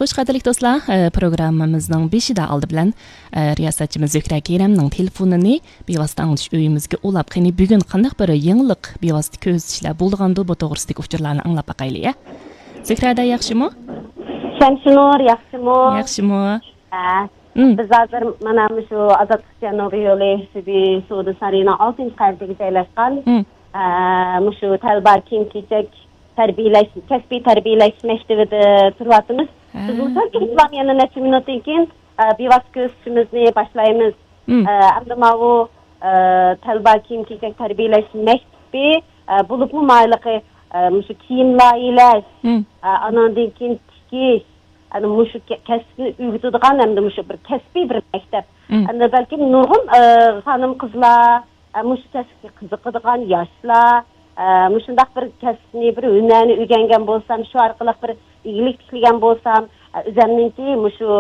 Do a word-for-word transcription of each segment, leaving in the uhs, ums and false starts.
خوش، قەدىرلىك دوستلار، ئە، پروگراممىمىزنىڭ بېشىدا ئالدى بىلەن، ئە، رىياسەتچىمىز زۆھرە كېرەمنىڭ تېلېفونىنى بىۋاسىتە ئاڭلىتىش ئۆيىمىزگە ئۇلاپ، قېنى، بۈگۈن قانداق بىر يېڭىلىق، بىۋاسىتە كۆزىتىشلەر بولىدىغاندۇ، بۇ توغرىسىدىكى ئۇچۇرلارنى ئاڭلاپ باقايلى، يا؟ زۆھرەدە ياخشىمۇ؟ شەمشىنۇر، ياخشىمۇ؟ ياخشىمۇ؟ ھە. مم. بىز ھازىر مانا مۇشۇ ئازادلىق جەنۇبىي يولى سۈبى سودا سارىيىنىڭ ئالتىنچى قەۋىتىگە جايلاشقان، مم. ئە، مۇشۇ تەلبا كىيىم-كېچەك تەربىيەلەش، كەسپىي تەربىيەلەش مەكتىۋىدە تۇرۇۋاتىمىز. ھە. بىز مۇشۇ ئىسلام يەنە نەچچە مىنۇتتىن كېيىن، ئە، بىۋاسىتە كۆزىتىشىمىزنى باشلايمىز. مم. ئە، ئەمدى ماۋۇ، ئە، تەلبا كىيىم-كېچەك تەربىيەلەش مەكتىپى، ئە، بولۇپمۇ مايلىقى، ئە، مۇشۇ كىيىم لايىھەلەش، مم. ئە، ئاناندىن كېيىن تىكىش، ئەنە مۇشۇ كە-، كەسىپنى ئۆگىتىدىغان ھەمدە مۇشۇ بىر كەسپىي بىر مەكتەپ. مم. ئەنە بەلكىم نۇرغۇن، ئە، خانىم-قىزلار، ئە، مۇشۇ كەسىپكە قىزىقىدىغان ياشلار، ئە، مۇشۇنداق بىر كەسىپنى، بىر ھۈنەرنى ئۆگەنگەن بولسام، شۇ ئارقىلىق بىر ئىگىلىك تىكلىگەن بولسام، ئە، ئۆزەمنىڭكى مۇشۇ،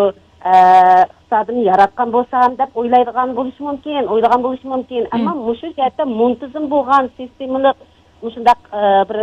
ئە، ئىقتىسادىمنى ياراتقان بولسام دەپ ئويلايدىغان بولۇشى مۇمكىن، ئويلىغان بولۇشى مۇمكىن. مم. ئەمما مۇشۇ جەھەتتە مۇنتىزىم بولغان، سىستېمىلىق، مۇشۇنداق، ئە، بىر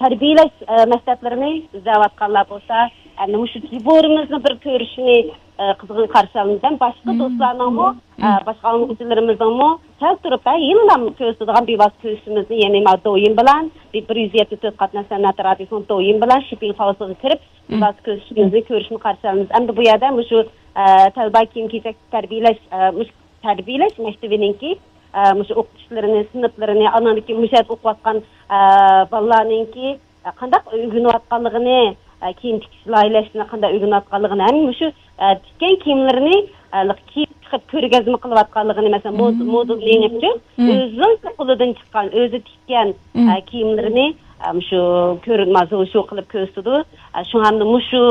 تەربىيەلەش، ئە، مەكتەپلىرىنى ئىزدەۋاتقانلار بولسا، ئەنە مۇشۇ دېبورىمىزنى بىر كۆرۈشنى، ئە، قىزغىن قارشى ئالىمىز. ھەم باشقا مم. دوستلارنىڭمۇ، ئە، مم. باشقا ئاڭلىغۇچىلىرىمىزنىڭمۇ كەلتۈرۈپ، ھە، يەنىلا كۆرسىتىدىغان بىۋاسىتە كۆرۈشىمىزنى، يەنى ما دويىن بىلەن، بىر، بىر يۈز يەتتە تۆت قاتناش سەنئەت رادىيوسىنىڭ دويىن بىلەن شىپىڭ خاۋسىغا كىرىپ، مم. بىۋاسىتە كۆرۈشۈشىمىزنى كۆرۈشنى قارشى ئالىمىز. ئەمدى بۇ يەردە مۇشۇ، ئە، تەلبا كىيىم-كېچەك تەربىيەلەش، ئە، مۇشۇ تەربىيەلەش مەكتىۋىنىڭكى، ئە، مۇشۇ ئوقۇتقۇچىلىرىنى، سىنىپلىرىنى، ئاناندىن كېيىن مۇشۇ يەردە ئوقۇۋاتقان، ئە، بالىلارنىڭكى، ئە، قانداق ئۆگىنىۋاتقانلىقىنى، ئە، كىيىم تىكىش، لايىھەلەشنى قانداق ئۆگىنىۋاتقانلىقىنى، ھەم مۇشۇ، ئە، تىككەن كىيىملىرىنى، ئە، كىيىپ چىقىپ كۆرگەزمە قىلىۋاتقانلىقىنى، مەسىلەن، مود-، مم. مودېل يېڭىپچۇ، مم. ئۆزىنىڭ قولىدىن چىققان، ئۆزى تىككەن، مم. ئە، كىيىملىرىنى، ئە، مۇشۇ كۆرۈنمە شو قىلىپ كۆرسىتىدۇ. ئە، شۇڭا ھەمدە مۇشۇ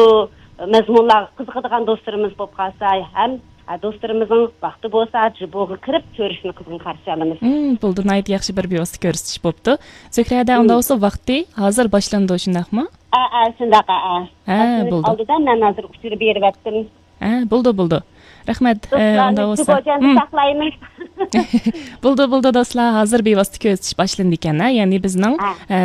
مەزمۇنلارغا قىزىقىدىغان دوستلىرىمىز بولۇپ قالسا، ھەم، ئە، دوستلىرىمىزنىڭ ۋاقتى بولسا، جىبوغا كىرىپ كۆرۈشنى قىزغىن قارشى ئالىمىز. مم، بولدى، ناھايىتى ياخشى بىر بىۋاسىتە كۆرسىتىش بوپتۇ. زۆھرەدە، مم. ئۇنداق بولسا ۋاقتى ھازىر باشلىنىدۇ، شۇنداقمۇ؟ ئە، ئە، شۇنداق، ئە، ئە. ھە، بولدى. ئالدىدا مەن ھازىر ئۇچۇر بېرىۋەتتىم. ھە، بولدى، بولدى. رەھمەت. ئە، ئۇنداق دوستلارنى بولسا. جىبوجاندا مم. ساقلايمىز. بولدى، بولدى، دوستلار. ھازىر بىۋاسىتە كۆرسىتىش باشلىنىدىكەن، ھە؟ يەنى بىزنىڭ، ھە. ئە،